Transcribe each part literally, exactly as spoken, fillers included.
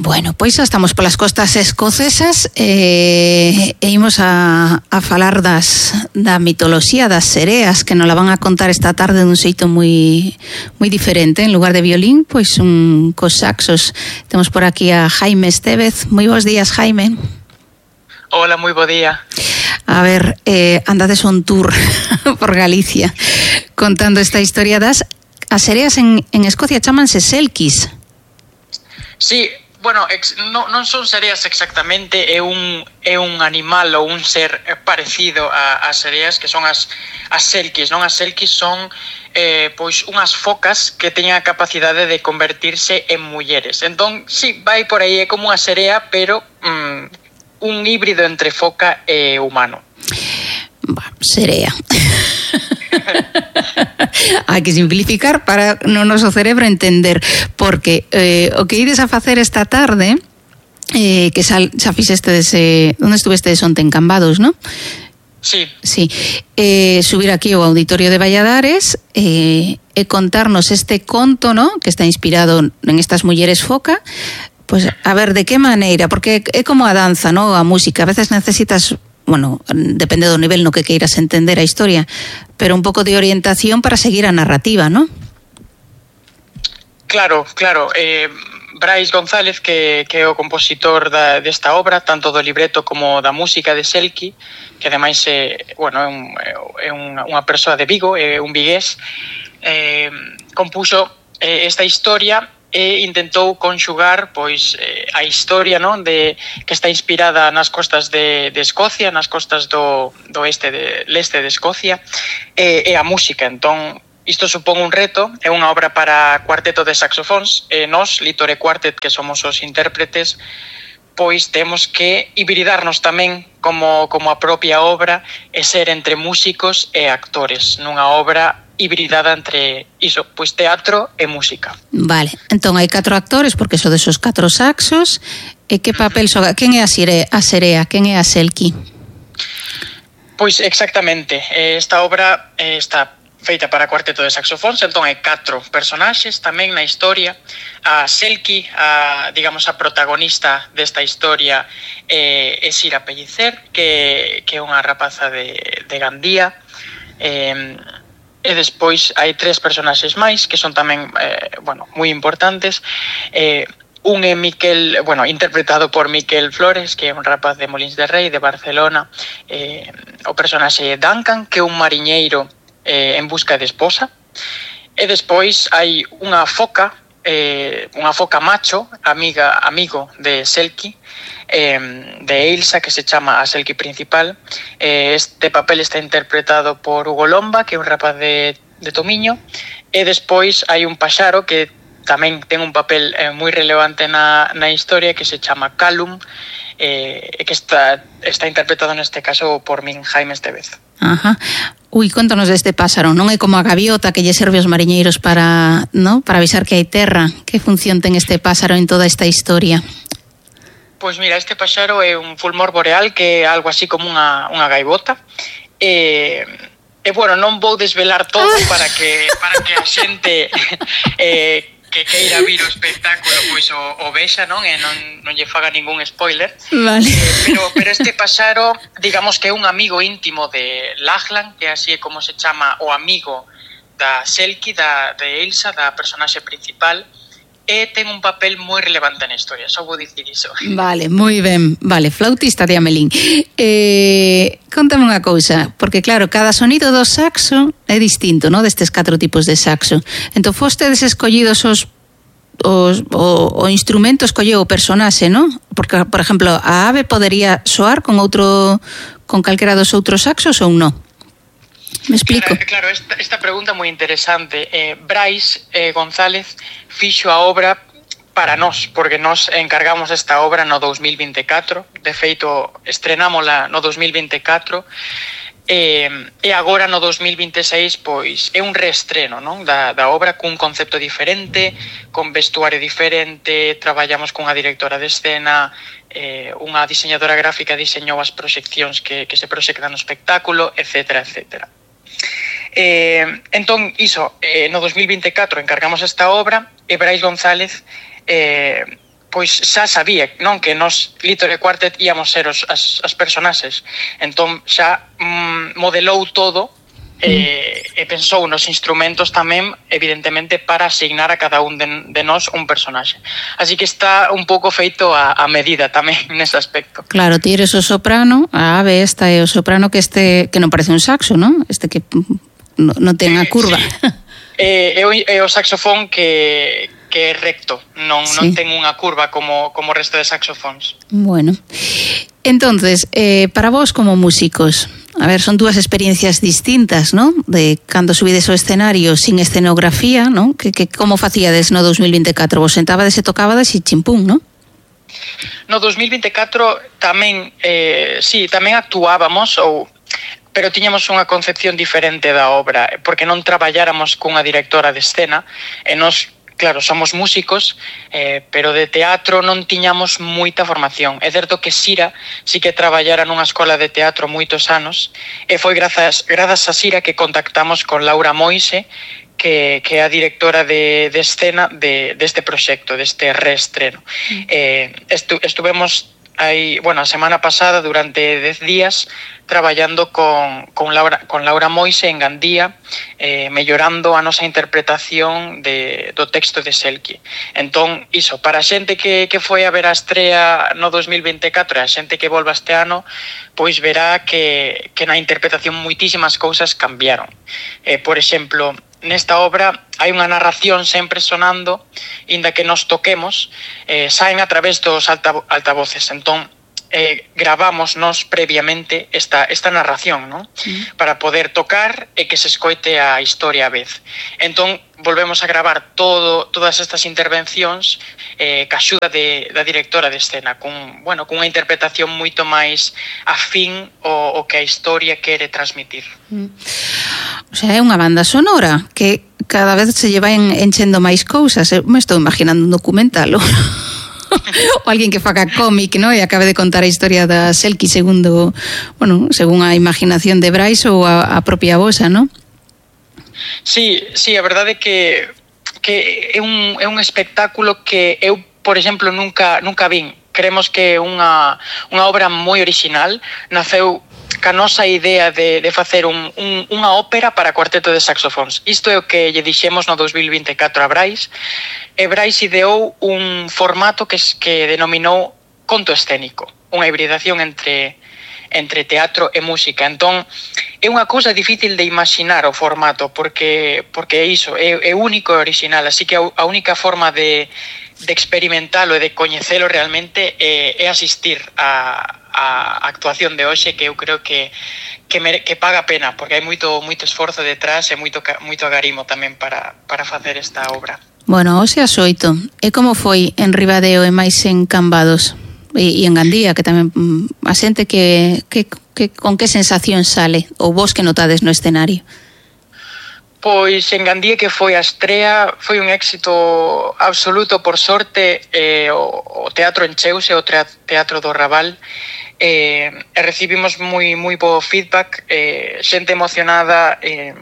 Bueno, pois xa estamos polas costas escocesas e, e imos a, a falar das, da mitoloxía das sereas que nos la van a contar esta tarde dun xeito moi moi diferente. En lugar de violín, pois un cos saxos. Temos por aquí a Jaime Estévez. Moi bons días, Jaime. Hola, moi bo día. A ver, eh, andades un tour por Galicia contando esta historia das as sereas en, en Escocia chamanse selkis. Sí, bueno, ex, no, non son sereas exactamente, é un, é un animal ou un ser parecido a, a sereas que son as, as selkis, non? As selkis son eh, pois unhas focas que teñen a capacidade de convertirse en mulleres. Entón, sí, vai por aí, é como unha serea, pero mm, un híbrido entre foca e humano. Bueno, serea. Hai que simplificar para no noso cerebro entender, porque eh, o que ides a facer esta tarde, eh, que xa, xa fixestedes, eh, onde estuvestedes onte en Cambados, non? Sí. Sí, eh, subir aquí ao Auditorio de Valladares eh, e contarnos este conto, ¿no?, que está inspirado en estas mulleres foca. Pues a ver, de que maneira, porque é como a danza, ¿no?, a música, a veces necesitas, bueno, depende do nivel no que queiras entender a historia, pero un pouco de orientación para seguir a narrativa, ¿no? Claro, claro. Eh, Brais González, que, que é o compositor da, desta obra, tanto do libreto como da música de Selki, que ademais é, bueno, é, un, é unha, unha persoa de Vigo, é un vigués, eh, compuxo eh, esta historia e intentou conxugar pois eh, a historia, non, de que está inspirada nas costas de, de Escocia, nas costas do, do este de leste de Escocia, e, e a música. Entón, isto supón un reto, é unha obra para cuarteto de saxofóns, e nós, Litore Quartet, que somos os intérpretes, pois temos que hibridarnos tamén como, como a propia obra e ser entre músicos e actores nunha obra hibridada entre iso, pois teatro e música. Vale, entón hai catro actores porque son desos catro saxos. E que papel xoga? Quen é a serea? A serea? Quen é a selki? Pois exactamente, esta obra está feita para cuarteto de saxofóns, entón hai catro personaxes tamén na historia. A Selki, a, digamos, a protagonista desta historia é, é Sira Pellicer, que, que é unha rapaza de, de Gandía. Eh, e despois hai tres personaxes máis que son tamén, eh, bueno, moi importantes. Eh, un é Miquel, bueno, interpretado por Miquel Flores, que é un rapaz de Molins de Rei, de Barcelona. Eh, o personaxe é Duncan, que é un mariñeiro eh, en busca de esposa. E despois hai unha foca, eh, unha foca macho, amiga, amigo de Selki, eh, de Ailsa, que se chama a Selki principal. Eh, este papel está interpretado por Hugo Lomba, que é un rapaz de, de Tomiño. E despois hai un paxaro que tamén ten un papel eh, moi relevante na, na historia, que se chama Callum, eh, que está, está interpretado neste caso por min, Jaime Estévez. Ajá. Ui, contanos deste páxaro. Non é como a gaviota que lle serve aos mariñeiros para, ¿no?, para avisar que hai terra. Que función ten este páxaro en toda esta historia? Pois mira, este paxaro é un fulmor boreal, que é algo así como unha, unha gaivota. E, e bueno, non vou desvelar todo para que, para que a xente eh, que queira vir o espectáculo pois o, o vexa, non? E non, non lle faga ningún spoiler. Vale. Eh, pero, pero este paxaro, digamos que é un amigo íntimo de Lachlan, que así é como se chama o amigo da Selki, da, de Ailsa, da personaxe principal, e ten un papel moi relevante na historia, só vou dicir iso. Vale, moi ben. Vale, flautista de Amelín. Eh, contame unha cousa, porque claro, cada sonido do saxo é distinto, ¿no?, destes catro tipos de saxo. Entón, fostedes escollidos os, os o, o instrumento escolleu o personaxe, ¿no? Porque, por exemplo, a ave podería soar con outro, con calquera dos outros saxos ou non? Me explico. Claro, claro, esta, esta pregunta é moi interesante. Eh, Brais eh, González fixo a obra para nós, porque nós encargamos esta obra no dous mil vinte e catro. De feito, estrenámola no dous mil vinte e catro. E, e agora no dous mil vinte e seis pois é un reestreno, non, da, da obra, cun concepto diferente, con vestuario diferente. Traballamos cunha directora de escena, eh, unha diseñadora gráfica diseñou as proxeccións que, que se proxectan no espectáculo, etcétera, etcétera. Eh, entón, iso, eh, no dous mil vinte e catro encargamos esta obra e Brais González eh, pois xa sabía, non, que nos Little Quartet íamos ser os, as, as personaxes. Entón xa mm, modelou todo e, e pensou nos instrumentos tamén, evidentemente, para asignar a cada un de, de nós un personaxe. Así que está un pouco feito a, a medida tamén nese aspecto. Claro, ti eres o soprano, a ave esta é o soprano que este que non parece un saxo, non? Este que non no ten a curva. Sí. É, é, o, é o saxofón que, que é recto, non, sí. non ten unha curva como, como o resto de saxofóns. Bueno, entonces, eh, para vos como músicos, a ver, son dúas experiencias distintas, ¿no? De cando subides ao escenario sin escenografía, ¿no? Que, que como facíades no dos mil vinte e catro? Vos sentabades e tocabades e chimpún, ¿no? No dos mil vinte e catro tamén, eh, sí, tamén actuábamos, ou, pero tiñamos unha concepción diferente da obra, porque non traballáramos cunha directora de escena, e nos... Claro, somos músicos, eh, pero de teatro non tiñamos moita formación. É certo que Sira sí que traballara nunha escola de teatro moitos anos, e foi grazas, grazas a Sira que contactamos con Laura Moise, que, que é a directora de, de escena de, deste proxecto, deste reestreno. Mm. Eh, estu, estuvemos aí, bueno, a semana pasada, durante dez días, traballando con, con, Laura, con Laura Moise en Gandía, eh, mellorando a nosa interpretación de, do texto de Selkie. Entón, iso, para a xente que, que foi a ver a estrea no dos mil vinte e catro e a xente que volva este ano, pois verá que, que na interpretación moitísimas cousas cambiaron. Eh, por exemplo, nesta obra hai unha narración sempre sonando, inda que nos toquemos, eh, saen a través dos alta, altavoces. Entón, eh, gravamos nos previamente esta, esta narración, ¿no? Mm. Para poder tocar e que se escoite a historia a vez. Entón, volvemos a gravar todo, todas estas intervencións eh, ca axuda de, da directora de escena, con, bueno, con unha interpretación moito máis afín o, o que a historia quere transmitir. Mm. O sea, é unha banda sonora que cada vez se lleva en, enchendo máis cousas. Eu me estou imaginando un documental ou alguén que faga cómic, ¿no? E acabe de contar a historia da Selkie segundo, bueno, según a imaginación de Brais ou a, a propia vosa, ¿no? Sí, sí, a verdade é que que é un é un espectáculo que eu, por exemplo, nunca nunca vin. Creemos que é unha unha obra moi original, naceu ca nosa idea de, de facer un, un, unha ópera para cuarteto de saxofóns. Isto é o que lle dixemos no dos mil vinte e catro a Brais, e Brais ideou un formato que, que denominou conto escénico, unha hibridación entre, entre teatro e música. Entón, é unha cousa difícil de imaginar o formato, porque, porque é iso, é, é único e original, así que a, a única forma de, de experimentalo e de coñecelo realmente é, é asistir a a actuación de hoxe, que eu creo que que, me, que paga pena, porque hai moito moito esforzo detrás e moito moito agarimo tamén para para facer esta obra. Bueno, hoxe as oito. E como foi en Ribadeo e máis en Cambados? E, e en Gandía, que tamén a xente que, que, que con que sensación sale, ou vos que notades no escenario? Pois en Gandía, que foi a estrea, foi un éxito absoluto, por sorte, eh, o, o teatro encheuse, o teatro do Raval, eh, e recibimos moi moi bo feedback, eh, xente emocionada, eh,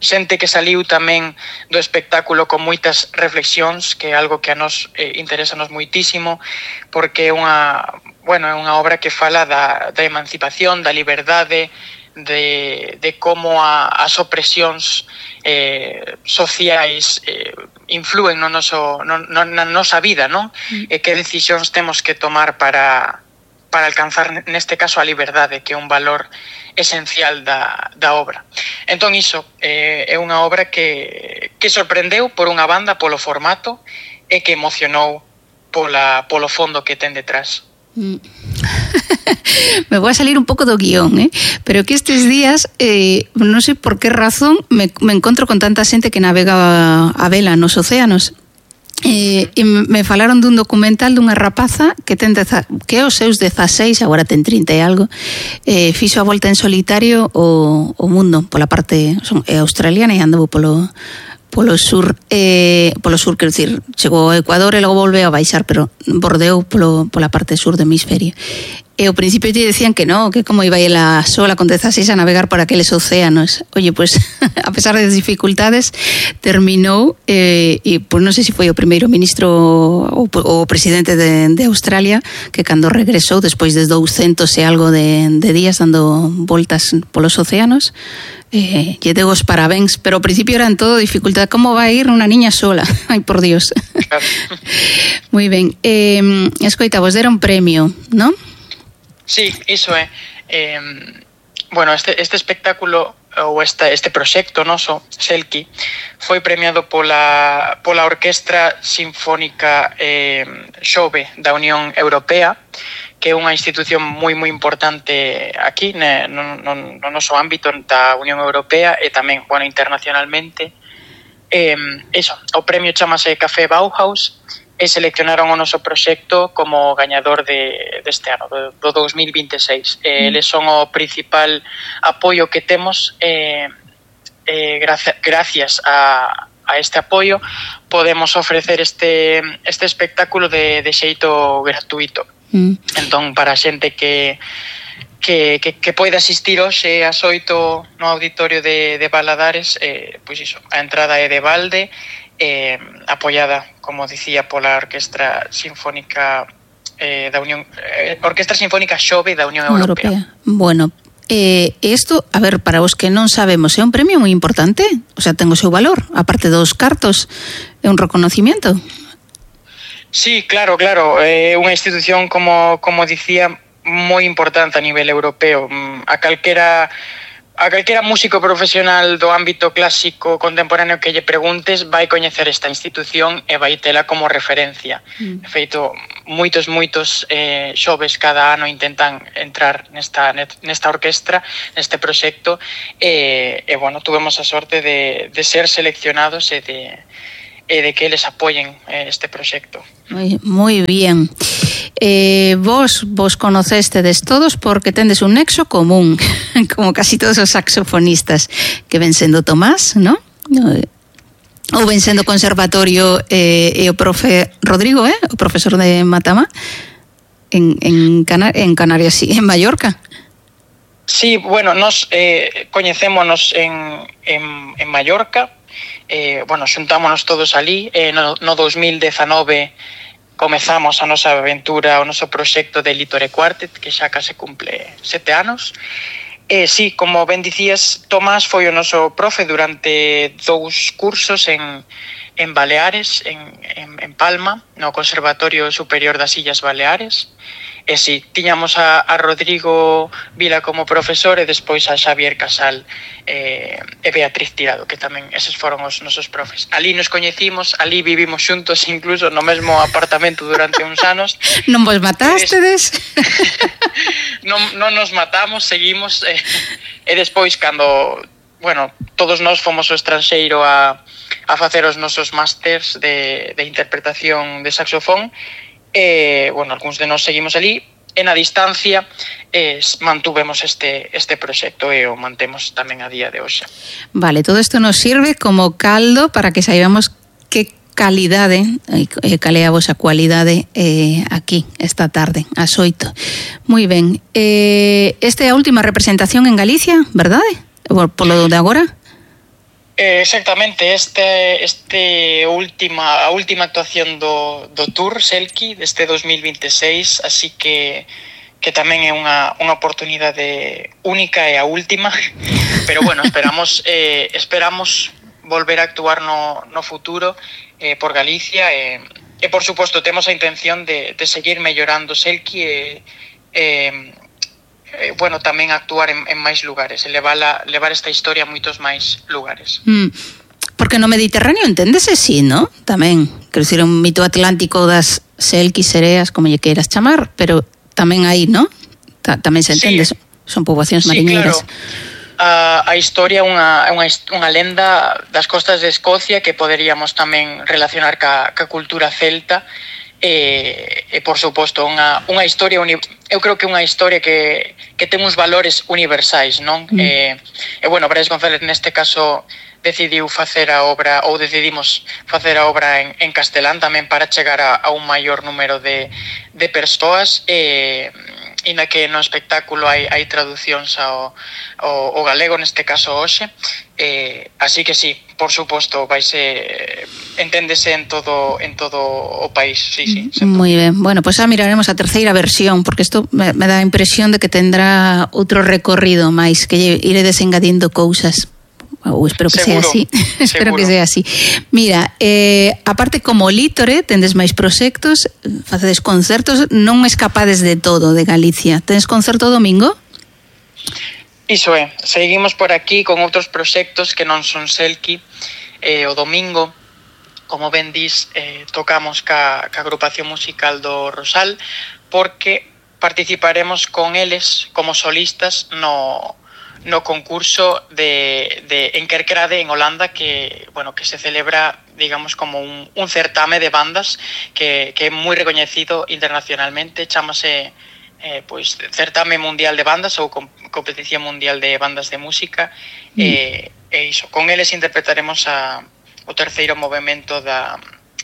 xente que saliu tamén do espectáculo con moitas reflexións, que é algo que a nos eh, interesanos moitísimo, porque é unha, bueno, é unha obra que fala da, da emancipación, da liberdade, de, de como a, as opresións eh, sociais eh, influen no noso, no, no, na nosa vida, non? Mm. E que decisións temos que tomar para, para alcanzar, neste caso, a liberdade, que é un valor esencial da, da obra. Entón, iso eh, é unha obra que, que sorprendeu por unha banda polo formato e que emocionou pola, polo fondo que ten detrás. Mm. Me voy a salir un pouco do guión, ¿eh? Pero que estes días, eh, non sei por que razón, me, me encontro con tanta xente que navega a, a vela nos océanos. Eh, e me falaron dun documental dunha rapaza que ten deza, que os seus dezaseis, agora ten trinta e algo, eh, fixo a volta en solitario o, o mundo pola parte son, é australiana e andou polo polo sur, eh, polo sur, quero dicir, chegou ao Ecuador e logo volveu a baixar, pero bordeou polo, pola parte sur do hemisferio. e ao principio te decían que no, que como iba a ir la sola con dezaseis a navegar por aqueles océanos. Oye, pues a pesar das dificultades terminou eh, e pues non sei se foi o primeiro ministro ou o presidente de, de Australia que cando regresou despois de douscentos e algo de, de días dando voltas polos océanos eh, lle deu os parabéns, pero ao principio eran todo dificultad. Como va a ir unha niña sola? Ai, por Dios. Moi ben. Eh, escoita, vos deron premio, non? Sí, iso é. Eh, bueno, este, este espectáculo ou esta, este proxecto noso, Selkie, foi premiado pola, pola Orquestra Sinfónica eh, Xove da Unión Europea, que é unha institución moi moi importante aquí ne, no, no, no noso ámbito da Unión Europea e tamén, bueno, internacionalmente. Eh, eso, o premio chamase Café Bauhaus e seleccionaron o noso proxecto como gañador de, deste ano, do, do dos mil vinte e seis. Eh, eles son o principal apoio que temos eh, eh, gracias, gracias a, a este apoio podemos ofrecer este, este espectáculo de, de xeito gratuito. Mm. Entón, para a xente que que, que, que pode asistir hoxe ás oito no auditorio de, de Valadares, eh, pois iso, a entrada é de balde, eh, apoiada, como dicía, pola Orquestra Sinfónica eh, da Unión eh, Orquestra Sinfónica Xove da Unión Europea. Europea. Bueno, eh, isto, a ver, para os que non sabemos, é un premio moi importante, o sea, ten o seu valor, aparte dos cartos, é un reconocimiento. Sí, claro, claro, é eh, unha institución, como, como dicía, moi importante a nivel europeo. A calquera a calquera músico profesional do ámbito clásico contemporáneo que lle preguntes vai coñecer esta institución e vai tela como referencia. Mm. De feito, moitos, moitos eh, xoves cada ano intentan entrar nesta, nesta orquestra, neste proxecto, e, e bueno, tuvemos a sorte de, de ser seleccionados e de, e de que eles apoyen eh, este proxecto. Moi, moi bien. Eh, vos vos conocestedes todos porque tendes un nexo común, como casi todos os saxofonistas, que ven sendo Tomás, ¿no? Ou ven sendo Conservatorio eh, e o profe Rodrigo, eh? O profesor de Matamá en, en, Cana- en Canarias, sí, en Mallorca. Sí, bueno, nos eh, coñecémonos en, en, en Mallorca, eh, bueno, xuntámonos todos ali, eh, no, no dos mil dezanove comezamos a nosa aventura, o noso proxecto de Litore Quartet, que xa case cumple sete anos. E sí, como ben dicías, Tomás foi o noso profe durante dous cursos en, en Baleares, en, en, en Palma, no Conservatorio Superior das Illas Baleares. E sí, tiñamos a, a Rodrigo Vila como profesor e despois a Xavier Casal eh, e Beatriz Tirado, que tamén eses foron os nosos profes. Ali nos coñecimos, ali vivimos xuntos incluso no mesmo apartamento durante uns anos. Non vos matastedes? non, non nos matamos, seguimos eh, e despois cando, bueno, todos nós fomos ao estranxeiro a, a facer os nosos másters de, de interpretación de saxofón. Eh, bueno, algúns de nós seguimos ali e na distancia eh, mantuvemos este, este proxecto e o mantemos tamén a día de hoxe. Vale, todo isto nos sirve como caldo para que saibamos que calidade, eh, cal é a vosa cualidade eh, aquí esta tarde, ás oito. Moi ben, eh, esta é a última representación en Galicia, verdade? Por, por lo de agora? Eh, exactamente, este este última a última actuación do do tour Selkie deste dos mil vinte e seis, así que que tamén é unha unha oportunidade única e a última, pero bueno, esperamos eh esperamos volver a actuar no no futuro eh por Galicia e e por suposto temos a intención de de seguir mellorando Selkie e eh Eh, bueno, tamén actuar en, en máis lugares e levala, levar esta historia a moitos máis lugares. Mm, porque no Mediterráneo enténdese, sí, ¿no? Tamén, quero dicir, un mito atlántico das Selkies, sereas, como lle queiras chamar, pero tamén aí, ¿no? Ta, tamén se entende, sí. Son poboacións mariñeiras. Sí, claro. A, a historia é unha, unha, unha lenda das costas de Escocia que poderíamos tamén relacionar ca, ca cultura celta. E, e por suposto unha, unha historia uni, eu creo que unha historia que, que ten uns valores universais, non? Mm. E, e bueno, Brais González neste caso decidiu facer a obra, ou decidimos facer a obra en, en castelán tamén para chegar a, a un maior número de, de persoas e, inda que no espectáculo hai, hai traducións ao, ao, ao galego, neste caso hoxe, eh, así que sí, por suposto, vaise enténdese en todo en todo o país, sí, sí. Moi ben, bueno, pois pues xa miraremos a terceira versión, porque isto me, me dá a impresión de que tendrá outro recorrido máis, que iredes engadindo cousas. Ou espero que seguro, sea así. Espero que sea así. Mira, eh, aparte como Lítore, tendes máis proxectos, facedes concertos, non escapades de todo de Galicia. Tendes concerto domingo? Iso é, seguimos por aquí con outros proxectos que non son Selki. Eh, o domingo, como ben dis, eh, tocamos ca, ca agrupación musical do Rosal, porque participaremos con eles como solistas no... no concurso de, de en Kerkrade, en Holanda, que bueno que se celebra, digamos, como un, un certame de bandas que, que é moi recoñecido internacionalmente, chamase eh, pois, Certame Mundial de Bandas ou Competición Mundial de Bandas de Música, mm. e, e iso, con eles interpretaremos a, o terceiro movimento da,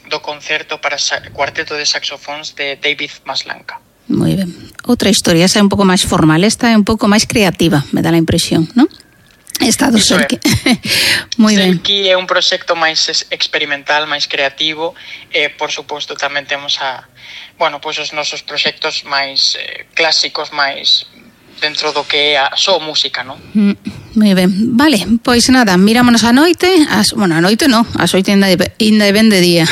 do concerto para cuarteto de saxofóns de David Maslanka. Moi ben. Outra historia, esa é un pouco máis formal, esta é un pouco máis creativa, me dá a impresión, non? Esta do Selki. Moi ben. Selki é un proxecto máis experimental, máis creativo, e, por suposto, tamén temos a, bueno, pois os nosos proxectos máis eh, clásicos, máis dentro do que é a só música, non? Mm, moi ben. Vale, pois nada, mirámonos a noite, as, bueno, a noite non, as oito ainda de ben de día.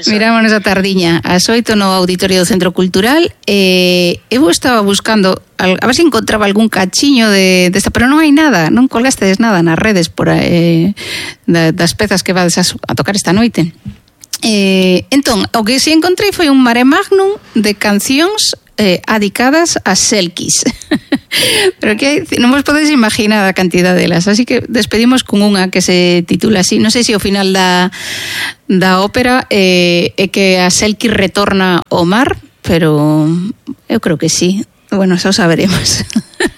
Mirámonos a tardiña, as oito no auditorio do Centro Cultural. E eu estaba buscando, a ver se encontraba algún cachiño de desta, pero non hai nada, non colgastes nada nas redes por eh, das pezas que vades a, a tocar esta noite. Eh, entón, o que si encontrei foi un mare magnum de cancións eh, adicadas a Selkis. Pero que non vos podedes imaginar a cantidad delas, así que despedimos con unha que se titula así, non sei se ao final da, da ópera eh, é que a Selkis retorna ao mar, pero eu creo que sí. Bueno, xa o saberemos.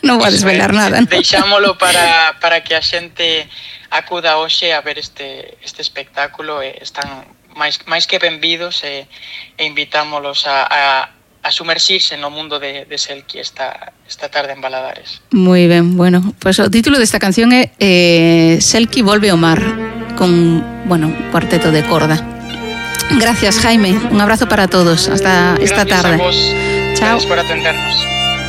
Non vou a desvelar nada, ¿no? Deixámolo para, para que a xente acuda hoxe a ver este, este espectáculo, e están máis, máis que benvidos, e, e invitámolos a, a, a sumerxirse no mundo de, de Selki esta, esta tarde en Baladares. Moi ben, bueno, pues o título desta canción é eh, Selki volve ao mar, con, bueno, un cuarteto de corda. Gracias, Jaime, un abrazo para todos, hasta esta tarde. Gracias a vos. Chao. Gracias por atendernos.